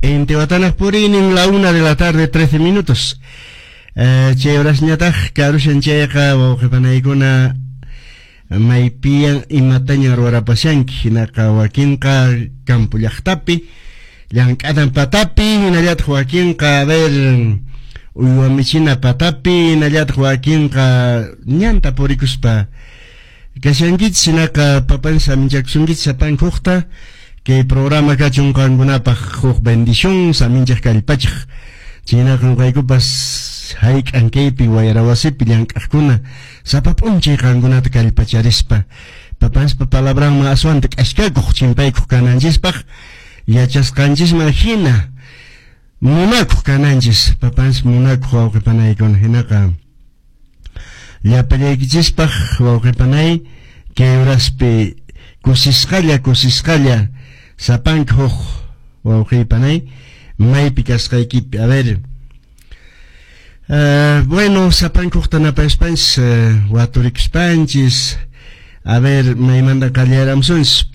Intiwatanaq puriynin, la 1 de la tarde 13 minutos. Chay horasñataq karushan chayqa, wawqipanaykuna, maypiyan imataña ruwarapashanki? Hinaqa wakinqa campo llaqtapi llank'anan patapi, hinallataq wakinqa, a ver, uywa michina patapi, hinallataq wakinqa ñanta purikuspa kashankichis. Hinaqa papan saminchakusunkichis sapanka hukta. Kay programa kachun qankunapaq huk bendición, saminchaq, kallpachaq. Chaynaqa ñuqaykupas hayk'an kaypi wayra wasipi llank'aqkuna sapa p'unchay qankunata kallpacharispa papanspa palabranman aswanta k'askakuq chimpaykuq kananchispaq, yachasqanchisman hina munakuq kananchis, papans munakuq wawqipanaykuna. Hinaqa llapallaykichispaq, wawqipanay, kay horaspi kusisqalla kusisqalla sapanka huk wawqipanay maypi kasqaykipi, a ver, bueno, sapanka hukta napaspanchis, waturikuspanchis, a ver, maymanta qallaramsunchis?